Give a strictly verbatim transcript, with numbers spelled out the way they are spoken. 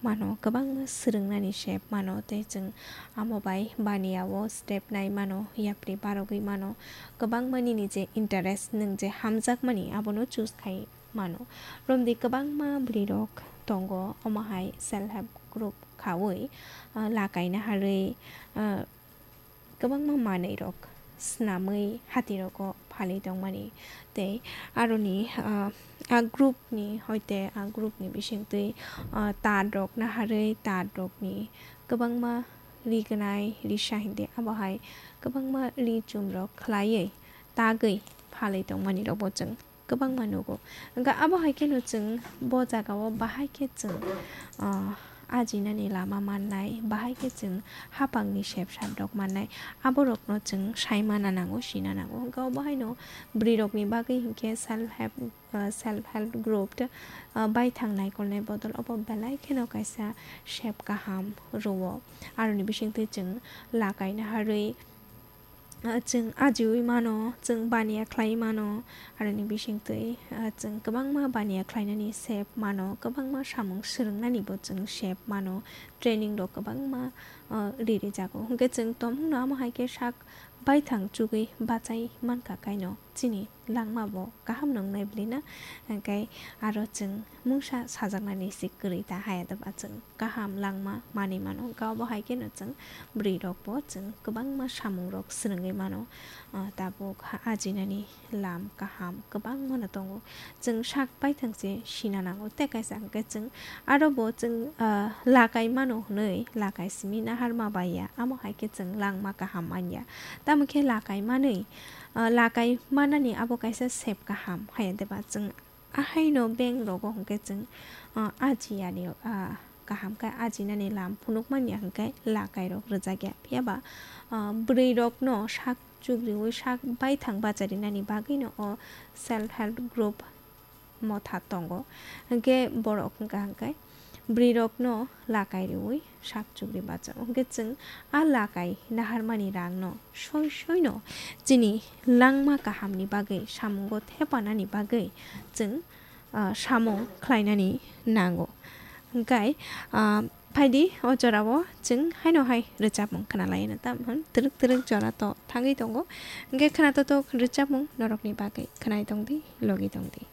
mano, kwbangma swrwngnani sep mano, tei chwng amo bai baniya o step nai mano, yapri barogwi mano, kwbangma nini je interest, nwng je hamjakmani abono choose khai mano. Romdi kwbangma bwrwirok tongo, omo hai self help group khaui, ah, lakaina harwi, ah, kwbangma manwirok snamwi hatirogo phalwi tongmani. Tei aroni, ah, a groupni, hoite a groupni bisingtwi, ah, tar rok naharwi tar rokni kwbangma ri gwnai, risa hindi abo hai kwbangma ri chumrok khlaiwi tagwi phalwi tongmani rokbo chwng kwbangma nugo. Hwnkhe abo hai kheno chwng bo jagao bahai khe chwng, ah, ajinani lama mannai, bahai khe chwng hapangni sepsap rok mannai, aborokno chwng sai mana nango, sina nango. Hwnkhe obo haino bwrwirokni bagwi hinkhe self help, ah, self help group, ah, baithang naikolnai bodol obo belai kheno kaisa sep kaham rwo. Aroni bisingtwi chwng lakaina harwi, ah, chwng ajiui mano, chwng baniya khlai mano, aroni bisingtwi, ah, chwng kwbangma baniya khlainani sep mano, kwbangma samung swrwngnanibo chwng sep mano, training rok kwbangma, ah, ri rijago. Hwnkhe chwng tongmungno amo hai khe sak baithang chugwi bachai mankha kaino chini langma bo kaham nwngnai bwlwi na, hwnkhe aro chwng mungsa sajaknani se kwrwi ta haya doba chwng kaham langma manwi mano, hwnkhe obo hai kheno chwng bwrwi rok bo chwng kwbangma samung rok swrwngwi mano, ah, tabuk ha ajinani lam kaham kwbangma no tongo, chwng sak baithang se sina nango tei kaisa hwnkhe chwng aro bo chwng, ah, lakai mano hwnwi lakai simi naharma bai ya, amo hai khe chwng langma kaham man ya, tamo khe lakai manwi, ah, lakai manani abo kaisa sep kaham haya doba chwng ahaino bank rogo hwnkhe chwng, ah, ajiya ni, ah, kaham khe ajinani lam phunuk man ya hwnkhe lakai rok rwjak ya. Phiya ba, ah, bwrwi rokno sak chugriui sak baithang bacharinani bagwino o self help group motha tongo. Hwnkhe borok hwnkha hwnkhe bwrwi rokno lakai riui sak chugri bachago. Hwnkhe chwng a lakai naharmani rangno soi soino chini langma kahamni bagwi, samungo thepanani bagwi chwng, ah, samung khlainani nango. Hwnkhe, ah, phaidi o jorao chwng haino hai rwchapmung khwnalaina, tam hwn twrwk twrwk jora to thangwi tongo. Hwnkhe khwnatok tok rwchapmung norokni bagwi khwnai tongdi, logi tongdi.